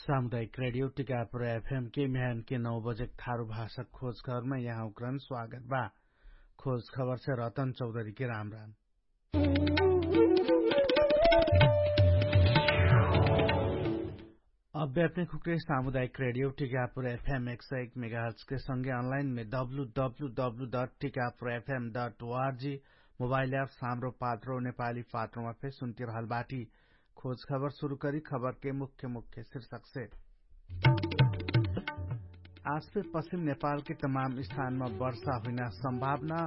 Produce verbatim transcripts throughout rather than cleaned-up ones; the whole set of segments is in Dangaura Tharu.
सामुदायिक रेडियो टिकापुर एफएम के म्यान के नौ बजेक थारु भाषक खोज खबरमा यहाँ उक्रन स्वागत बा। खोज खबर से रतन चौधरी के राम राम। अब्यापने खुक्रे सामुदायिक रेडियो टिकापुर एफएम एक सौ एक मेगाहर्ट्स के संगे अनलाइन में W W W dot Tikapur FM dot O R G mobile app Hamro Patro Nepali पात्रोमा फे सुन्ति रहल बाटी। खोज खबर सुरु करी खबर के मुख्य मुख्य शीर्षक से। आज फे पश्चिम नेपाल के तमाम स्थानमा वर्षा हुइना सम्भावना,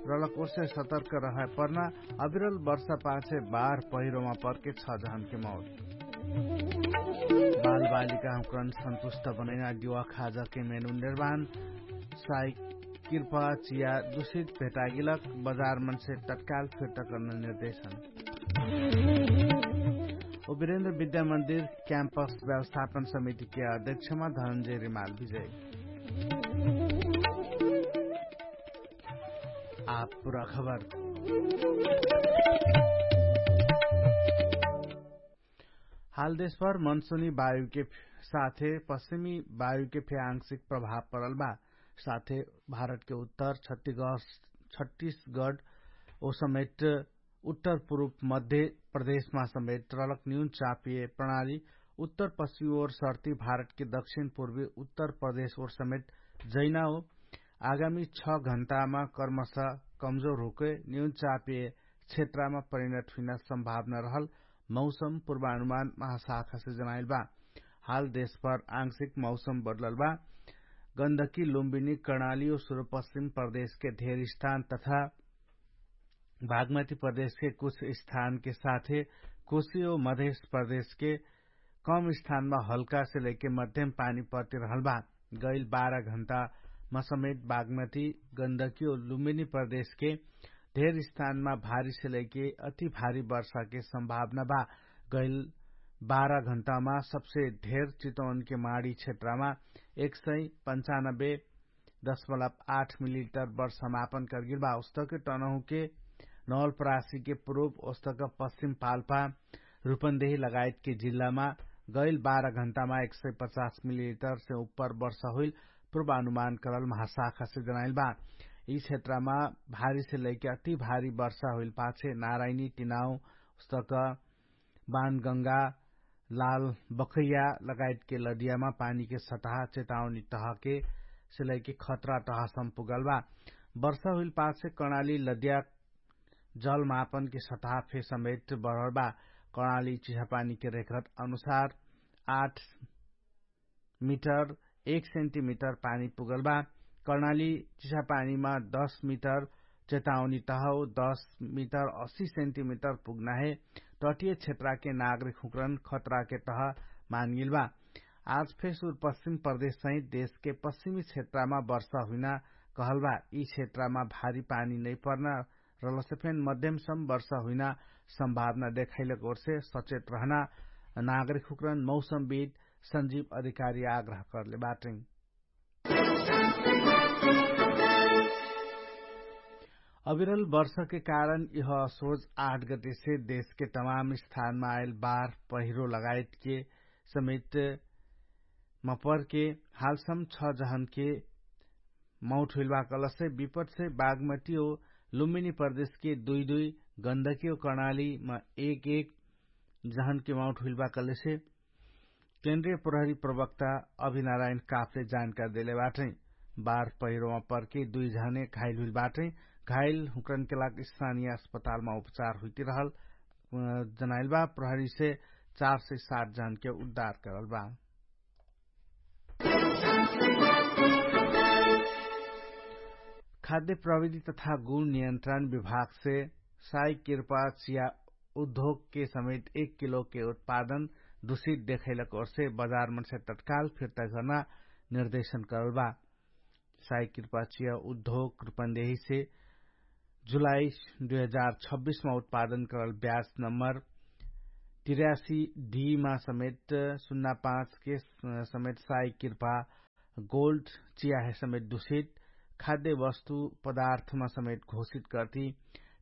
रलक ओर्से सतर्क रहै पर्ना। अबिरल वर्षा पाछे बार पहिरोमा पर्के छ जहन के मौत। बालबालिका हुँकरन सन्तुष्ट बनैना दिवा खाजा के मेनु निर्माण। साई किर्पा चिया दुषित भेटागिलक बजार मनसे तत्काल फिर्ता कर्न निर्देशन। उबिरेन्द्र विद्या मन्दिर क्याम्पस व्यवस्थापन समिति के अध्यक्षमा धनन्जय रिमाल विजय। आप पुरा खबर। हाल देशभर मनसुनी वायुके साथे पश्चिमी वायुके फे आंशिक प्रभाव परल बा। साथे भारतके उत्तर छत्तीसगढ ओ समेट उत्तर पुरुप मध्य प्रदेशमा समेट रलक न्यून चापिय प्रणाली उत्तर पश्चिमी ओर सर्ती भारतके दक्षिण पुर्वी उत्तर प्रदेश ओर समेट जैना हो। आगामी छ घण्टामा कर्मश कमजोर होके न्यून चापिय क्षेत्रामा परिणत हुइना सम्भावना रहल मौसम पुर्वानुमान महाशाखासे जनाइल बा। हाल देशभर आंशिक मौसम बदलल बा। गन्दकी लुम्बिनी कर्णाली ओ सुरुपश्चिम प्रदेशके धेर स्थान तथा बागमती प्रदेशके कुछ स्थानके साथे कुशी ओ मधेश प्रदेशके कम स्थानमा हल्कासे लैके मध्यम पानी पर्ति रहल बा। गैल बाह्र घण्टामा समेत बागमती गन्दकी ओ लुम्बिनी प्रदेशके धेर स्थानमा भारीसे लैके अति भारी वर्षाके सम्भावना बा। गैल बाह्र घण्टामा सबसे धेर चितवनके माडी क्षेत्रमा एक सय पन्चानब्बे दशमलव आठ मिलिलिटर वर्ष समापन कर्गिल बा। उस्तके टनहुके नवलपरासीके पुरुप उस्तक पश्चिम पाल्पा रुपन्देही लगायतके जिल्लामा गैल बाह्र घण्टामा एक सय पचास मिलिलिटरसे उप्पर वर्ष हुइल पुर्वानुमान करल महाशाखासे जनाइल बा। यि क्षेत्रमा भारीसे लैके अति भारी वर्ष हुइल पाछे नारायणी टिनाउ उस्तक बानगंगा लाल बखैया लगायतके लदियामा पानीके सतहा चेतावनी तहके से लैके खतरा तहसम पुगल बा। वर्षा हुइल पाछे कर्णाली लदिया जलमापनके सतहा फे समेट बढल बा। कर्णाली चिसापानीके रेखरत अनुसार आठ मिटर एक सेन्टिमिटर पानी पुगल बा। कर्णाली चिसापानीमा दस मिटर चेतावनी तहौ दस मिटर अस्सी सेन्टिमिटर पुग्ना हे। तटिय क्षेत्राके नागरिक हुँकरन खतराके तह मानगिल बा। आज फेसुर पश्चिम प्रदेश सहित देशके पश्चिमी क्षेत्रामा वर्षा हुइना कहल बा। यि क्षेत्रामा भारी पानी नैपर्ना रलसे फेन मध्यम सम वर्षा हुइना सम्भावना देखाइलक ओर्से सचेत रहना नागरिक हुँकरन मौसमविद सञ्जीव अधिकारी आग्रह करले बाटै। अविरल वर्षके कारण यह असोज आठ गतिसे देशके तमाम स्थानमा आइल बार पहिरो लगायतके समेत मपर्के हालसम छ जहनके मौट हुइलबा कलसे विपटसे बागमती ओ लुम्बिनी प्रदेशके दुइ दुइ गन्दकी ओ कर्णालीमा एक एक जहनके मौट हुइलबा कलसे केन्द्रीय प्रहरी प्रवक्ता अभिनारायण काफले जानकारी देले बाटै। बार पहिरोमा पर्के दुइ जहने घाइल हुइल बाटै। घाइल हुँकरनके लाग स्थानीय अस्पतालमा उपचार हुइति रहल जनाइल बा। प्रहरीसे चार सय सात जहनके उद्धार करल बा। खाद्य प्रविधि तथा गुण नियन्त्रण विभागसे साई किर्पा चिया उद्योगके समेत एक किलोके उत्पादन दुषित देखैलक ओर्से बजारमनसे तत्काल फिर्ता गर्ना निर्देशन करल बा। साई किर्पा चिया उद्योग रुपन्देहीसे जुलाई दुई हजार छब्बिसमा उत्पादन करल ब्याज नम्बर तिरासी डीमा समेत सुन्ना पाँचके समेत साई किर्पा गोल्ड चियाहे समेत दुषित खाद्य वस्तु पदार्थमा समेत घोषित कर्ति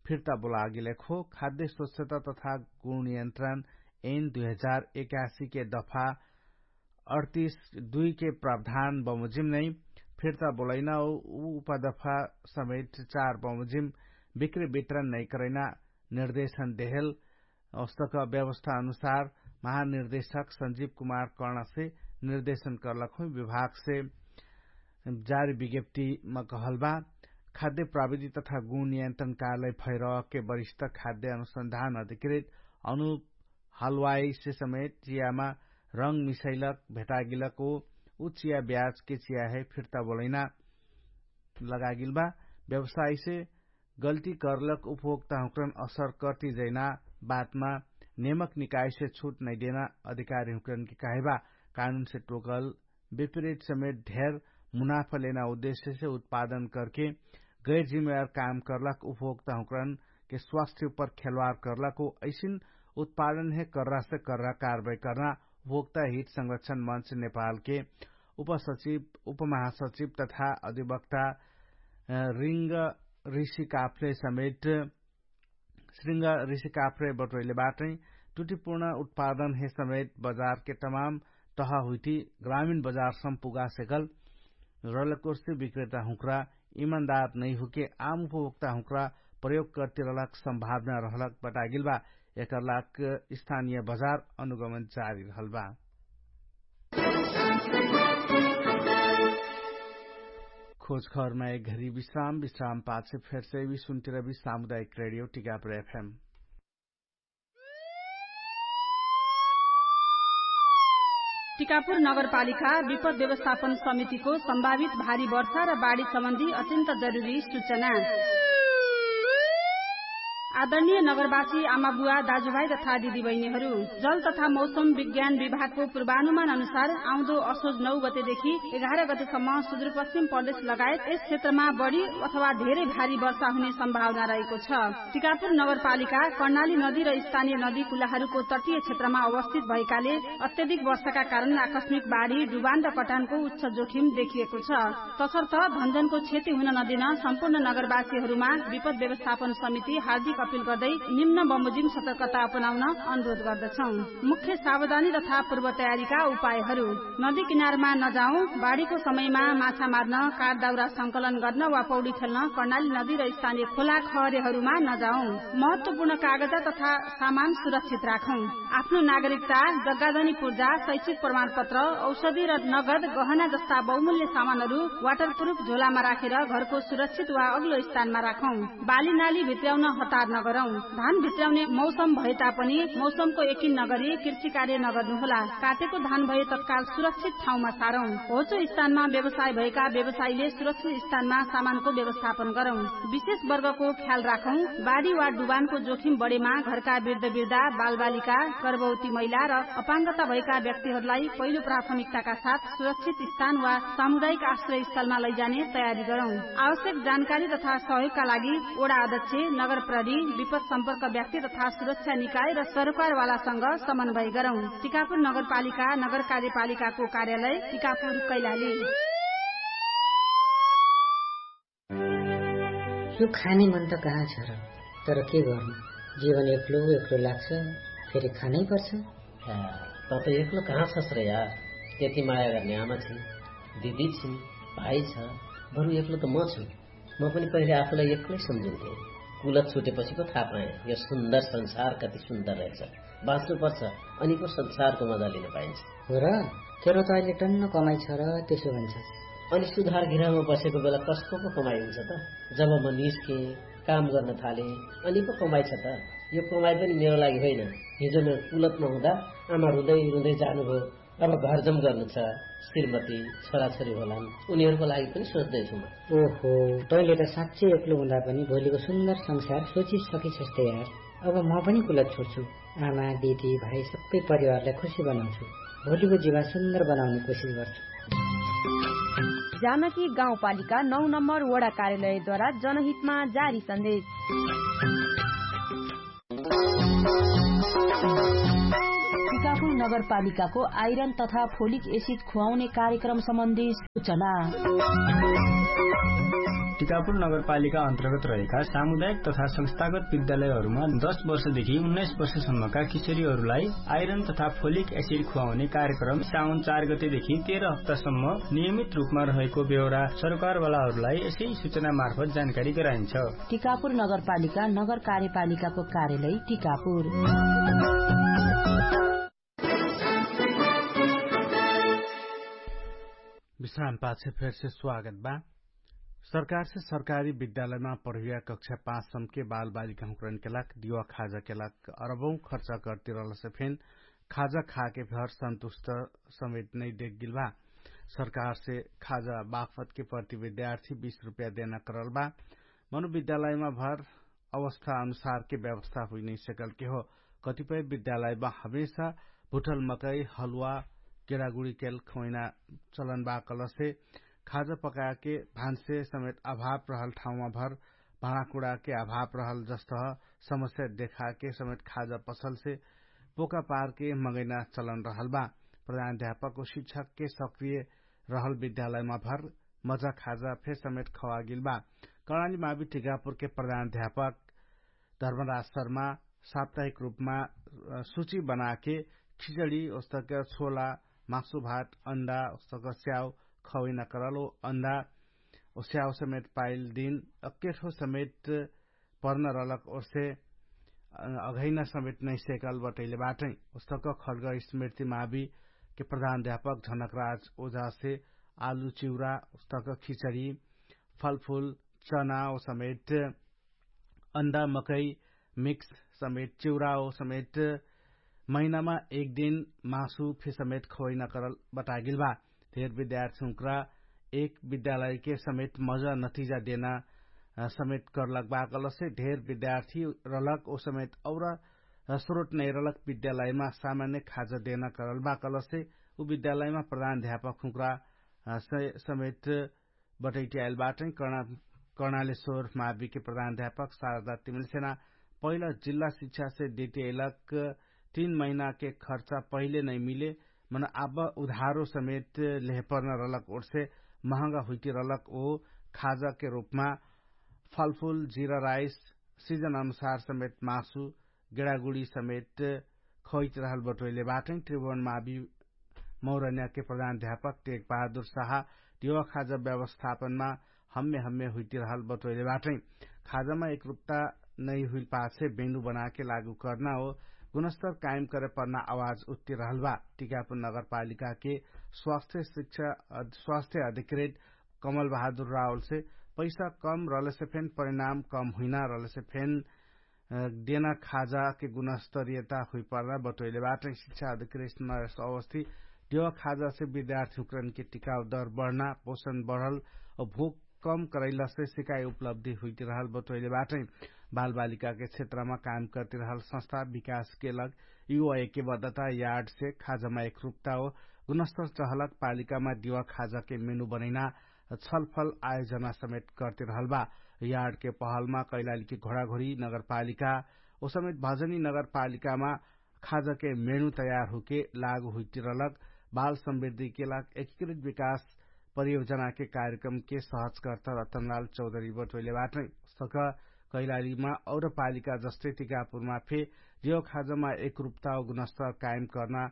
फिर्ता बोलागेलेखो। खाद्य स्वच्छता तथा गुण नियन्त्रण एन दुई हजार एकासीके दफा अडतिस दुई के प्रावधान बमोजिम नै फिर्ता बोलैना उ उपदफा समेत चार बमोजिम बिक्री वितरण नै करैना निर्देशन देहेल। अवस्थक व्यवस्था अनुसार महानिर्देशक संजीव कुमार कर्णसे निर्देशन कर्लक हुइ विभागसे जारी विज्ञप्तिमा कहल बा। खाद्य प्राविधि तथा गुण नियन्त्रण कार्यालय भैरहके वरिष्ठ खाद्य अनुसन्धान अधिकृत अनुप हलवाइसे समेत चियामा रंग मिसैलक भेटागिलक उ चिया ब्याजके चियाहे फिर्ता बोलैना लगागिल बा। व्यवसायसे गल्ती कर्लक उपभोक्ता हुँक्रन असर कर्ति जैना बातमा नेमक निकायसे छुट नैदेना अधिकारी हुँक्रनके कहैबा। कानुनसे टोकल विपरीत समेत ढेर मुनाफा लेना उद्देश्यसे उत्पादन करके गैर जिम्मेवार काम कर्लक उपभोक्ता हुँक्रनके स्वास्थ्य उपर खेलवार कर्लक हो। ऐसिन उत्पादनहे कर्रासे कर्रा कारवाही कर्ना उपभोक्ता हित संरक्षण मञ्च नेपालके उपसचिव उपमहासचिव तथा अधिवक्ता रिङ्ग ऋषि काफले समेत श्रृङ्ग ऋषि काफले बटोइले बाटै टुटिपूर्ण उत्पादनहे समेत बजारके तमाम तह हुइटी ग्रामीण बजारसम पुगासेकल रलकोर्सी विक्रेता हुँक्रा इमान्दार नैहुके आम उपभोक्ता हुँक्रा प्रयोग कर्तिरलक सम्भावना रहलक बटागिल बा। एकरलाक स्थानीय बजार अनुगमन जारी रहल बा। खोज खबरमा एक घरी विश्राम विश्राम पाछे फेरसे विश्वन्तिरवि सामुदायिक रेडियो टिकापुर एफएम। टिकापुर नगरपालिका विपद व्यवस्थापन समितिको सम्भावित भारी वर्षा र बाढी सम्बन्धी अत्यन्त जरुरी सूचना। आदरणीय नगरवासी आमाबुवा दाजुभाइ तथा दिदीबहिनीहरू, जल तथा मौसम विज्ञान विभागको पूर्वानुमान अनुसार आउँदो असोज नौ गतेदेखि एघार गतेसम्म सुदूरपश्चिम प्रदेश लगायत यस क्षेत्रमा बढी अथवा धेरै भारी वर्षा हुने सम्भावना रहेको छ। टिकापुर नगरपालिका कर्णाली नदी र स्थानीय नदी कुलाहरूको तटीय क्षेत्रमा अवस्थित भएकाले अत्यधिक वर्षाका कारण आकस्मिक बाढी डुबान र कटानको उच्च जोखिम देखिएको छ। तसर्थ धनजनको क्षति हुन नदिन सम्पूर्ण नगरवासीहरूमा विपद व्यवस्थापन समिति हार्दिक अपिल गर्दै निम्न बमोजिम सतर्कता अपनाउन अनुरोध गर्दछौं। मुख्य सावधानी तथा पूर्व तयारीका उपायहरू। नदी किनारमा नजाउँ। बाढीको समयमा माछा मार्न, काठ दाउरा संकलन गर्न वा पौडी खेल्न कर्णाली नदी र स्थानीय खोला खहरेहरूमा नजाउँ। महत्वपूर्ण कागजा तथा सामान सुरक्षित राखौं। आफ्नो नागरिकता, जग्गाधनी पूर्जा, शैक्षिक प्रमाणपत्र, औषधि र नगद गहना जस्ता बहुमूल्य सामानहरू वाटरप्रुफ झोलामा राखेर घरको सुरक्षित वा अग्लो स्थानमा राखौं। बाली नाली भित्र्याउन हतार नगरौं। धान भित्र्याउने मौसम भएता पनि मौसमको यकिन नगरी कृषि कार्य नगर्नुहोला। काटेको धान भए तत्काल सुरक्षित ठाउँमा सारौं। होचो स्थानमा व्यवसाय भएका व्यवसायीले सुरक्षित स्थानमा सामानको व्यवस्थापन गरौं। विशेष वर्गको ख्याल राखौं। बाढी वा डुबानको जोखिम बढेमा घरका वृद्धवृद्धा, बालबालिका, गर्भवती महिला र अपाङ्गता भएका व्यक्तिहरूलाई पहिलो प्राथमिकताका साथ सुरक्षित स्थान वा सामुदायिक आश्रयस्थलमा लैजाने तयारी गरौं। आवश्यक जानकारी तथा सहयोगका लागि वडा अध्यक्ष, नगर प्रहरी, विपद सम्पर्क व्यक्ति तथा सुरक्षा निकाय र सरकारवालासँग समन्वय गरौं। टिकापुर नगरपालिका नगर कार्यपालिकाको कार्यालय टिकापुर कैलाली। यो खाने मन त कहाँ छ र? तर के गर्नु, जीवन एक्लो एक्लो लाग्छ। फेरि खानै पर्छ। त त एक्लो कहाँ छस् र यार? यति माया गर्ने आमा छिन्, दिदी छिन्, भाइ छ। बरु एक्लो त म छु। म पनि पहिले आफूलाई एक्लै सम्झिन्थे। कुलत छुटेपछि पो थाहा पाएँ यो सुन्दर संसार कति सुन्दर रहेछ। बाँच्नु पर्छ, अनि पो संसारको मजा लिन पाइन्छ। हो र? तेरो त अहिले टन्न कमाइ छ र त्यसो भन्छ। अनि सुधार गृहमा बसेको बेला कसको पो कमाइ हुन्छ त? जब म निस्केँ, काम गर्न थालेँ, अनि पो कमाइ छ त? यो कमाइ पनि मेरो लागि होइन। हिजो मेरो कुलतमा हुँदा आमा रुँदै रुँदै जानुभयो। अब घरजम गर्नु छ। श्रीमती, छोराछोरी होलान्, उनीहरूको लागि पनि सोच्दैछु म। ओहो, तैँले त साँच्चै एक्लो हुँदा पनि भोलिको सुन्दर संसार सोचिसकिछस् त यार। अब म पनि कुलत छोड्छु। आमा, दिदी, भाइ सबै परिवारलाई खुसी बनाउँछु। भोलिको जीवन सुन्दर बनाउने कोसिस गर्छु। जानकी गाउँपालिका नौ नम्बर वडा कार्यालयद्वारा जनहितमा जारी सन्देश। कापुर नगरपालिकाको आइरन तथा फोलिक एसिड खुवाउने कार्यक्रम सम्बन्धी सूचना। टिकापुर नगरपालिका अन्तर्गत रहेका सामुदायिक तथा संस्थागत विद्यालयहरूमा दस वर्षदेखि उन्नाइस वर्षसम्मका किशोरीहरूलाई आइरन तथा फोलिक एसिड खुवाउने कार्यक्रम साउन चार गतेदेखि तेह्र हप्तासम्म नियमित रूपमा रहेको बेहोरा सरकारवालाहरूलाई यसै सूचना मार्फत जानकारी गराइन्छ। टिकापुर नगरपालिका नगर कार्यपालिकाको कार्यालय टिकापुर। विश्राम पाछे फेरसे स्वागत बा। सरकारसे सरकारी विद्यालयमा पढुया कक्षा पाँच सम्के बालबालिका हुँकरन केलाक दिवा खाजा केलाक अरबौं खर्चा करतिरहलसे फेन खाजा खाके भर सन्तुष्ट समेत नै देखगिल बा। सरकारसे खाजा बाफतके प्रति विद्यार्थी बीस रुपैया देना करल बा। मनो विद्यालयमा भर अवस्था अनुसारके व्यवस्था हुइनै सकलके हो। कतिपय विद्यालयमा हमेशा भुटल मकै हलुवा गेडागुडी केल खवैना चलन बा कलसे खाजा पकाके भान्से समेत अभाव रहल ठाउँमा भर भाँडाकुडाके अभाव रहल जस्त समस्या देखाके समेत खाजा पसलसे पोका पारके मगैना चलन रहल बा। प्रधानाध्यापक ओ शिक्षकके सक्रिय रहल विद्यालयमा भर मजा खाजा फेर समेत खवागिल बा। कर्णाली मावि टिकापुरके प्रधानाध्यापक धर्मराज शर्मा साप्ताहिक रूपमा सुची बनाके खिचडी ओस्तक छोला मासु भात अण्डा ओस्तक स्याउ खवैना करल ओ अण्डा ओ स्याउ समेत पाइल दिन अक्केठो समेत पर्न रलक ओर्से अघैना समेत नैसेकल बटैले बाटै। ओस्तक खड्ग स्मृति मावि के प्रधानाध्यापक झनकराज ओझासे आलु चिउरा ओस्तक खिचडी फलफुल चना ओ समेत अण्डा मकै मिक्स समेत चिउरा ओ समेत महिनामा एक दिन मासु फे समेत खवैना करल बटागिल बा। धेर विद्यार्थी हुँक्रा एक विद्यालयके समेत मजा नतिजा देना समेत करलक बा कलसे धेर विद्यार्थी रलक ओ समेत और स्रोत नै रलक विद्यालयमा सामान्य खाजा देना करल बा कलसे उ विद्यालयमा प्रधानाध्यापक हुँक्रा समेत बटैटियाइल बाटै। कर्णालेश्वर माविके प्रधानाध्यापक शारदा तिमिलसेना पहिला जिल्ला शिक्षासे देटियाइलक तीन महिनाके खर्चा पहिले नै मिले मन आब उधारो समेत लेहपर्न रलक ओर्से महँगा हुइति रलक ओ खाजाके रूपमा फलफुल जिरा राइस सिजन अनुसार समेत मासु गेडागुडी समेत खैत रहल बटोइले बाटै। त्रिभुवन मावि मौरन्याके प्रधानाध्यापक टेक बहादुर साहा दिवा खाजा व्यवस्थापनमा हम्मे हम्मे हुइति रहल बटोइले बाटै। खाजामा एकरूपता नै हुइल पाछे बेनु बनाके लागू कर्ना ओ गुणस्तर कायम करे पर्ना आवाज उत्ति रहल बा। टिकापुर नगरपालिकाके स्वास्थ्य शिक्षा स्वास्थ्य अधिकृत कमल बहादुर रावलसे पैसा कम रहलेसे फेन परिणाम कम हुइना रहलेसे फेन देना खाजाके गुणस्तरीयता हुइपर्ना बटोइले बाटै। शिक्षा अधिकृत नरेश अवस्थी देवा खाजासे विद्यार्थी हुँकरनके टिकाउ दर बढ्ना पोषण बढल और भोक कम करैलासे सिकाइ उपलब्धि हुइतिरहल बटोइले बाटै। बालबालिकाके क्षेत्रमा काम करतिरहल संस्था विकासके लग युवा एकबद्धता यार्डसे खाजामा एकरूपता हो गुणस्तर चहलक पालिकामा दिवा खाजाके मेनु बनैना छलफल आयोजना समेत करतिरहल बा। यार्डके पहलमा कैलालीके घोडाघोडी नगरपालिका ओ समेत भजनी नगरपालिकामा खाजाके मेनु तयार हुके लागु हुइतिरलक बाल समृद्धिके लाग एकीकृत विकास परियोजनाके कार्यक्रमके सहजकर्ता रतनलाल चौधरी बटोइले बाटै। सक कैलालीमा और पालिका जस्तै टिकापुरमा फे देव खाजामा एकरूपता गुणस्तर कायम कर्ना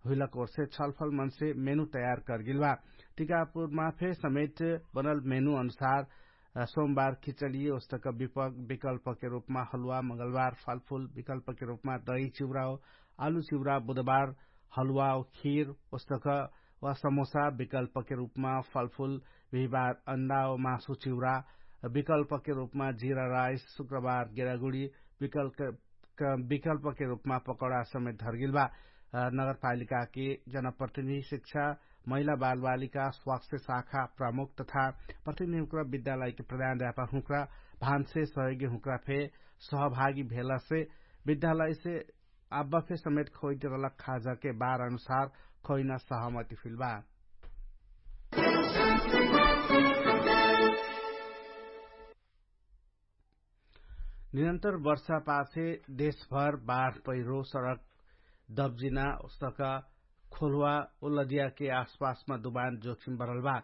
हुइलक ओर्से छलफल मनसे मेनु तयार करगिल बा। टिकापुरमा फे समेत बनल मेनु अनुसार सोमबार खिचडी ओस्तक विकल्पके रूपमा हलुवा, मंगलबार फलफुल विकल्पके रूपमा दही चिउरा हो, आलु चिउरा बुधबार हलुवा हो, खीर ओस्तक वा समोसा विकल्पके रूपमा फलफुल, बिहिबार अण्डा हो, मासु चिउरा विकल्पके रूपमा जिरा राइस, शुक्रबार गेडागुडी विकल्प विकल्पके रूपमा पकौडा समेत धरगिल बा। नगरपालिकाके जनप्रतिनिधि शिक्षा महिला बालबालिका स्वास्थ्य शाखा प्रमुख तथा प्रतिनिधि हुँक्रा विद्यालयके प्रधानाध्यापक हुँक्रा भान्से सहयोगी हुँक्रा फे सहभागी भेलासे विद्यालयसे आब्बा फे समेत खोइट रलक खाजाके बार अनुसार खोइना सहमति फिल बा। निरन्तर वर्षा पाछे देशभर बाढ पैह्रो सडक दब्जिना उस्तक खोल्हुवा उल्लदियाके आसपासमा दुबान जोखिम बरल बा।